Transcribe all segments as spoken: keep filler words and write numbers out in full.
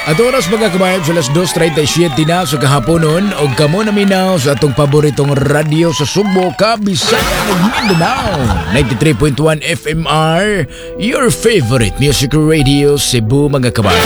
At oras, mga kabayan, sa alas dos trenta y siyete na sa kahaponon og kamo naminaw sa atong paboritong radyo sa Sugbo, Kabisayan ug Mindanao. ninety-three point one F M R, your favorite music radio, Cebu, mga kabayan.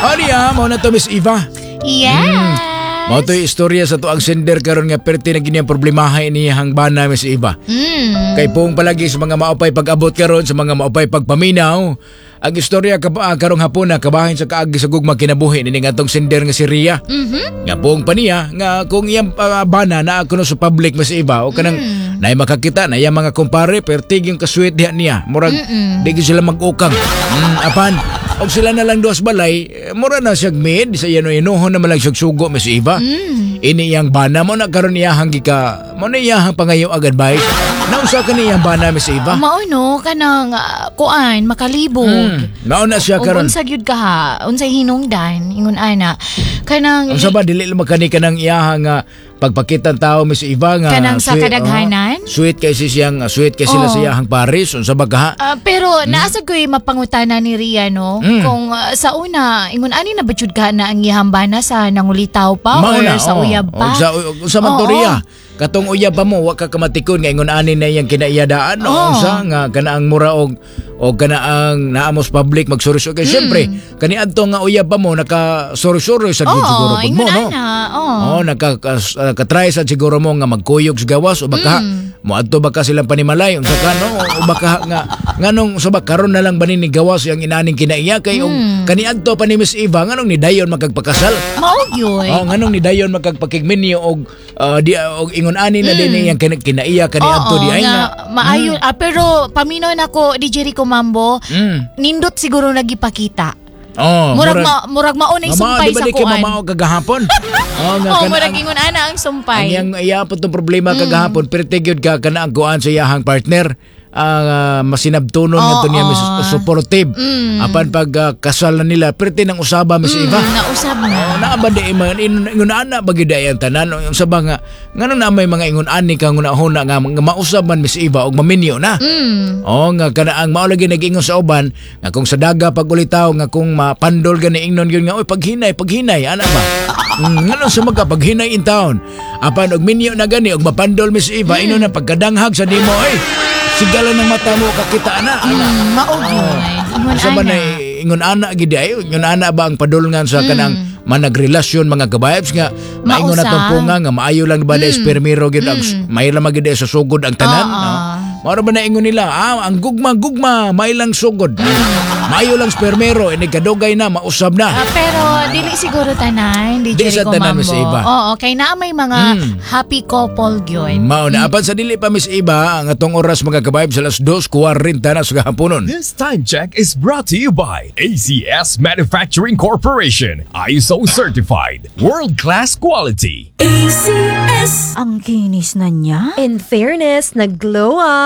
Aniya, mao na to, Miss Eva. Yes. Mao to istorya sa atoang sender karon nga perti na gini ang problemaha iniyang bana, Miss Eva. Mm. Kay pong palagi sa mga maupay pag-abot karon, sa mga maupay pagpaminaw, ang istorya ka, ah, karong hapon na kabahin sa kaagi sa gugma kinabuhi ni atong sender nga si Ria. Mhm. Nga pong pa niya nga kung iyang uh, bana na kuno sa public, Miss Eva, o kanang mm. nay makakita na iyang mga kumpare, pertig yung kasweet diha niya. Murag di gyud sila mag-ukang. Mm, apan og sila na lang duas balay, eh, mura na siyag mid sa iyano inuhon na malang siyag sugo, Miss Eva. Mm. Ini iyang bana mo na karon iyahang gika mo na iyahang pangayo ag advice. Naunsa ka iyang bana, Miss Eva? Mao no kanang ah, kuan makalibog. Mm. Mao na siya Ug karon. Unsa gyud ka ha? Unsay hinungdan ingon ana? Kanang Unsa ba, dili lang makani kanang iyahang nga pagpakita tao, Miss Eva, nga Kanang sa sweet, kadaghanan? Oh, sweet kay si siyang sweet kay sila Oh. sa iyahang pares, unsa ba ka? Ah, pero hmm? Naa sad ko'y mapangutana ni Ria, no? Mm. Kung ah, sa una ingon ani na ba jud ka na ang iyang bana sa nangulitaw pa Mao or na, sa oh. uyab pa? Og sa sa man to, Oo. Ria. Katong uyab pa mo, wa ka kamatikon nga ingon ani na iyang kinaiyadaan, no? Oo. Unsa nga kanaang mura og og kanaang naamos public magsuri-suri kay syempre kaniadto nga uyab pa mo naka suri-suri sa gyud Oo, siguro pud mo, ingon no? ana. Oo. Oh, naka kas- uh, katry sa siguro mo nga magkuyog sa gawas o baka Mm. moadto baka silang panimalay, unsa ka, no, o baka nga nganong sa ba karon na lang ba ni gawas yang inaning kinaiya kay og Mm. kaniadto pa ni Miss Eva, nganong ni dayon magkagpakasal? Mao gyud. Oh, nganong ni dayon magkagpakigminyo og uh, di og ingon ani na din iyang kin- kinaiya kaniadto Oo, di ay nga nga. maayo ah, pero paminaw nako, D J Rico Mambo, Mm. nindot siguro nagipakita. Oh, Murag ma, murag mao na Mama, sumpay di ba sa di kay kuan. mamao kagahapon? Oh, nga Oh, kana- murag ingon ana ang Ang sumpay. iyang iya po tong problema kagahapon, perti gyud ka kana ang kuan sa iyahang partner ah masinabtunon nga to niya, Oo. mis supportive. Mm. Apan pag ah, kasal na nila, perti nang usaba, Miss Eva. Mm, nausab na. Oh, naa ba di man ingon ana ba gyud ay ang tanan sa ba nga ngano na may mga ingon ani ka nguna-huna nga, nga mausab man, Miss Eva, og maminyo na. Mm. Oh, nga kana ang mao lagi nag-ingon sa uban nga kung sa daga pag ulitaw nga kung mapandol gani ingnon gyud nga, "Oy, paghinay, paghinay," ana ba. Mm, ngano sa magka paghinay in town. Apan og minyo na gani og mapandol, Miss Eva, mm. ino na pagkadanghag sa nimo, "Oy, sigala ng mata mo kakita ana." Ana. Mm, mao gyud. Ingon Sa ba ana. na ingon ana gid ay ingon ana ba ang padulngan sa kanang managrelasyon, mga kabayabs, nga maingon na Mausab. tong punga nga maayo lang ba na espermero gid ang may lang magid sa sugod ang tanan, Oo. no? Mao ba na ingon nila, ah, ang gugma gugma may lang sugod. Maayo lang spermero ini kadugay na mausab na. Ah, pero dili siguro tanan, di Di sa Jericho tanan, Mambo. Miss Eva. Oo, kay naa may mga Mm. happy couple gyud. Mao na, apan sa dili pa, Miss Eva, ang atong oras, mga kabayab, sa alas dos kwarenta na sa haponon. This time check is brought to you by A C S Manufacturing Corporation. I S O certified. World-class quality. A C S. Ang kinis na niya. In fairness, nag-glow up.